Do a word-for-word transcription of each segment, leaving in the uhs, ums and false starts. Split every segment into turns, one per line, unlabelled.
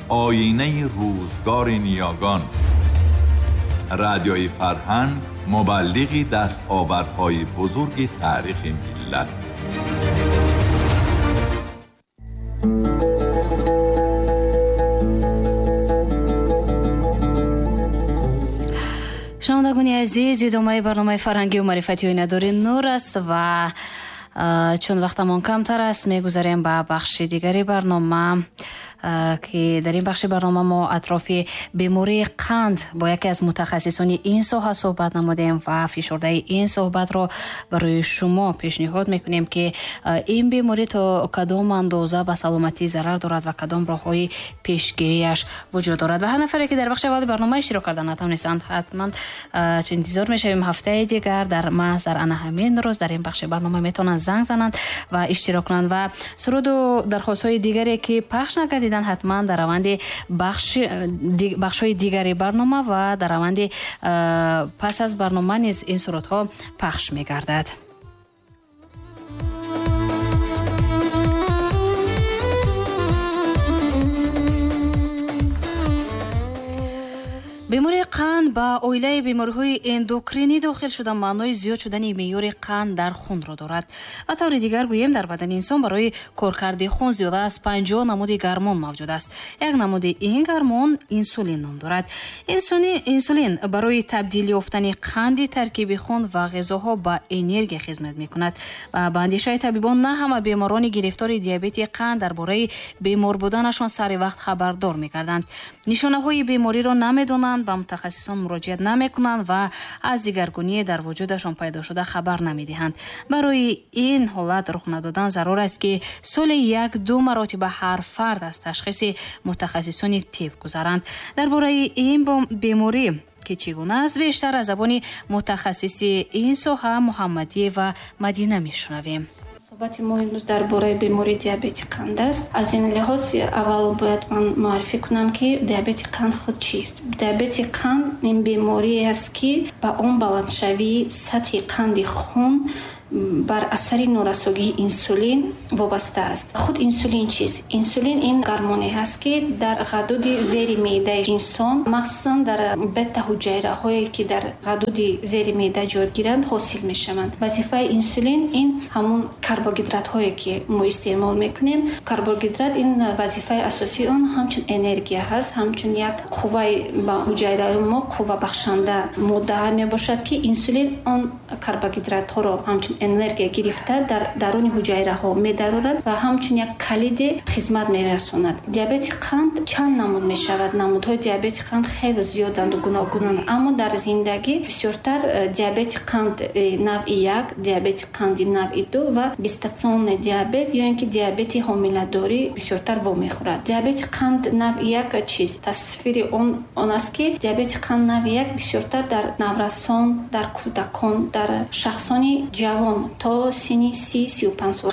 آینه روزگار نیاگان. رادیوی فرهنگ مبلغی دستاوردهای بزرگ تاریخ ملت.
шунавандагони азиз, идомаи барномаи фарҳангию маърифатии Оинадори Нур аст ва чун вақтамон камтар аст, мегузарем ба бахши дигари барнома, ки дар ин бахши барнома мо атрофи бемории қанд бо яке аз мутахассисони ин соҳа суҳбат намудем ва фишурдаи ин суҳбатро барои шумо пешниҳод мекунем, ки ин беморӣ то кадом андоза ба саломатӣ зарар дорад ва кадом роҳҳои пешгириаш вуҷуд дорад. Ва ҳар нафаре ки дар бахши аввали барнома иштирок карда натавонистанд, ҳатман чун интизор мешавем ҳафтаи дигар дар маҳз дар ана ҳамин рӯз дар ин бахши барнома метавонанд занг зананд ва иштирок кунанд ва суруду дархостҳои дигаре ки пахш накардидан ҳатман дар раванди бахшҳои дигари барнома ва дар раванди пас аз барнома низ ин сурудҳо пахш мегардад. Бемории қанд ба оилаи бемориҳои эндокринӣ дохил шуда маънои зиёд шудани меъёри қанд дар хунро дорад. Ба таври дигар гӯем, дар бадани инсон барои коркарди хун зиёда аз панҷоҳ намуди гармон мавҷуд аст. Як намуди ин гармон инсулин ном дорад. Инсулин барои табдил ёфтани қанди таркиби хун ва ғизоҳо ба энергия хизмат мекунад. Ва ба андешаи табибон, на ҳама беморони гирифтори диабети қанд дар бораи бемор буданашон сари вақт хабардор мекарданд. Нишонаҳои бемориро намедонанд, ба мутахассисон муроҷиат намекунанд ва аз дигаргуние дар вуҷудашон пайдо шуда хабар намедиҳанд. Барои ин ҳолат рух надодан зарур аст, ки соли як-ду маротиба ҳар фард аз ташхиси мутахассисони тиб гузаранд. Дар бораи ин беморӣ ки чӣ гуна аст, бештар аз забони мутахассиси ин соҳа Муҳаммадиева Мадина мешунавем.
Суҳбати мо имрӯз дар бораи бемории диабети қанд аст. Аз ин лиҳоз аввал бояд ман муаррифӣ кунам, ки диабети қанд худ чист. Диабети қанд ин беморие аст, ки ба он баландшавии сатҳи қанди хун бар асари норасогии инсулин вобаста аст. Худ инсулин чист? Инсулин ин гармоне ҳаст, ки дар ғадуди зери меъдаи инсон, махсусан дар бета-ҳуҷайраҳое ки дар ғадуди зери меъда ҷой гиранд, ҳосил мешаванд. Вазифаи инсулин ин ҳамун карбогидратҳое ки мо истеъмол мекунем. Карбогидрат ин вазифаи асосии он ҳамчун энергия ҳаст, ҳамчун як қувваи ба ҳуҷайраҳои мо қуввабахшанда моддаҳа мебошад, ки инсулин он карбогидратҳоро ҳамчун энергия гирифта дар даруни ҳуҷайраҳо медарорад ва ҳамчун як калиде хизмат мерасонад. Диабети қанд чанд намуд мешавад? Намудҳои диабети қанд хеле зиёданду гуногунанд, аммо дар зиндагӣ бисёртар диабети қанд навъи як, диабети қанди навъи ду ва гестационный диабет ё ин ки диабети ҳомиладорӣ бисёртар вомехӯрад. Диабети қанд навъи як чиз? Тасвири он он аст, ки диабети қанд навъи як бисёртар дар наврасон, дар кӯдакон, дар шахсони ҷавон то синни си сию панҷ сола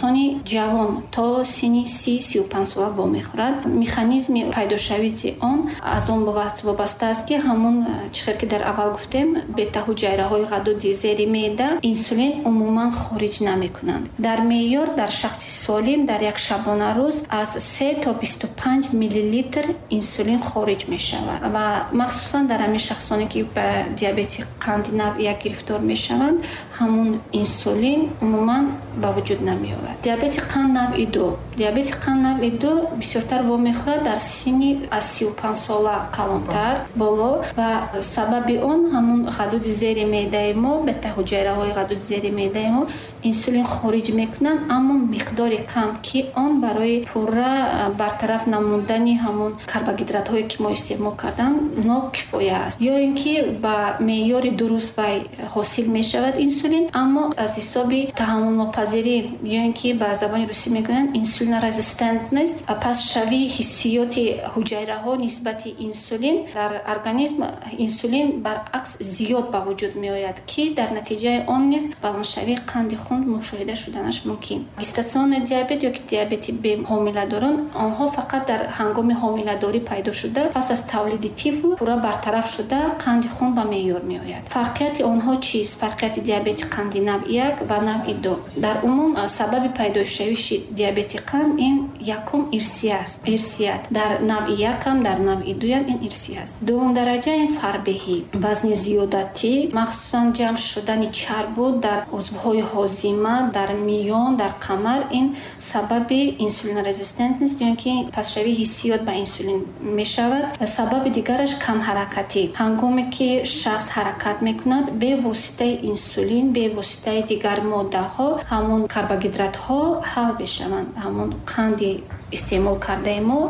ҷавон то синни си сию панҷ сола вомехӯрад. Механизми пайдошавии он аз он вобаста аст, ки ҳамун чӣ хел ки дар аввал гуфтем, бета-ҳуҷайраҳои ғадуди зери меъда инсулин умуман хориҷ намекунанд. Дар меъёр дар шахси солим дар як шабонарӯз аз се то бисту панҷ миллилитр инсулин хориҷ мешавад ва махсусан дар ҳамин шахсоне ки ба диабети қанди навъи як гирифтор мешаванд, ҳамун инсулин умуман ба вуҷуд намеовард. Диабети қанд навъи ду. Диабети қанд навъи ду бисёртар вомехӯрад дар синни аз сию панҷ сола калонтар боло ва сабаби он ҳамун ғадуди зери меъдаи мо, бета-ҳуҷайраҳои ғадуди зери меъдаи мо инсулин хориҷ мекунанд, аммо миқдори кам, ки он барои пурра бартараф намудани ҳамун карбогидратҳое ки мо истеъмол кардам нокифоя аст, ё ин ки ба меъёри дуруст вай ҳосил мешавад инсулин, аммо аз ҳисоби таҳаммулнопазирӣ ё ин ки ба забони русӣ мегӯянд инсулинорезистентность, пастшавии ҳиссиёти ҳуҷайраҳо нисбати инсулин дар организм инсулин баръакс зиёд ба вуҷуд меояд, ки дар натиҷаи он низ баландшавии қанди хун мушоҳида шуданаш мумкин. Гестационный диабет ё ки диабети ҳомиладорон, онҳо фақат дар ҳангоми ҳомиладорӣ пайдо шуда, пас аз тавлиди тифл пурра бартараф шуда қанди хун ба меъёр меояд. Фарқияти онҳо чист? Фарқияти диабети қанди навъи як ва навъи ду. Дар умум сабаби пайдошавиши диабети қанд ин якум ирсӣ аст. Ирсият дар навъи якам, дар навъи дуям ин ирсӣ аст. Дуввум дараҷа ин фарбеҳӣ, вазни зиёдатӣ, махсусан ҷамъ шудани чарбу дар узвҳои ҳозима, дар миён, дар қамар ин сабаби инсулинрезистентност ё ки пастшавии ҳиссиёт ба инсулин мешавад. Сабаби дигараш камҳаракатӣ. Ҳангоме ки шахс ҳаракат мекунад, бевоситаи инсулин, бевоситаи дигар моддаҳо ҳамон карбогидратҳо ҳал мешаванд. Ҳамон қанди истеъмол кардаи мо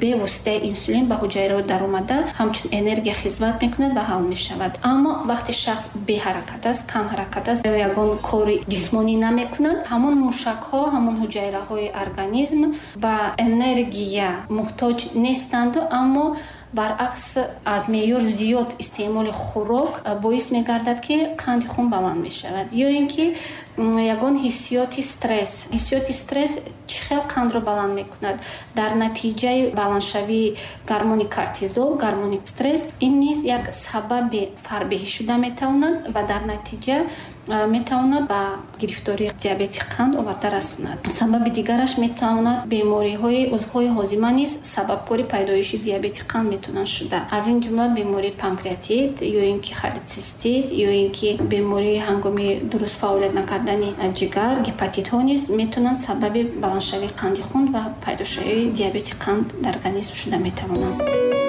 бевоситаи инсулин ба ҳуҷайраҳо даромада ҳамчун энергия хизмат мекунад ва ҳал мешавад. Аммо вақте шахс беҳаракат аст, камҳаракат аст ё ягон кори ҷисмонӣ намекунад, ҳамон мушакҳо, ҳамон ҳуҷайраҳои организм ба энергия муҳтоҷ нестанду, аммо баръакс аз меъёр зиёд истеъмоли хӯрок боис мегардад, ки қанди хун баланд мешавад. Ё ин ки ягон ҳиссиёти стресс. Ҳиссиёти стресс чӣ хел қандро баланд мекунад? Дар натиҷаи баландшавии гормони кортизол, гормони стресс, ин низ як сабаби фарбеҳӣ шуда метавонад ва дар натиҷа метавонад ба гирифтории диабети қанд оварда расонад. Сабаби дигараш метавонад бемориҳои узвҳои ҳозима низ сабабкори пайдоиши диабети қанд метавонанд шуда. Аз ин ҷумла бемории панкреатит ё ин ки холецистит ё ин ки бемории ҳангоми дуруст фаъолият накардани ҷигар, гепатитҳо низ метавонанд сабаби баландшавии қанди хун ва пайдошавии диабети қанд дар организм шуда метавонанд.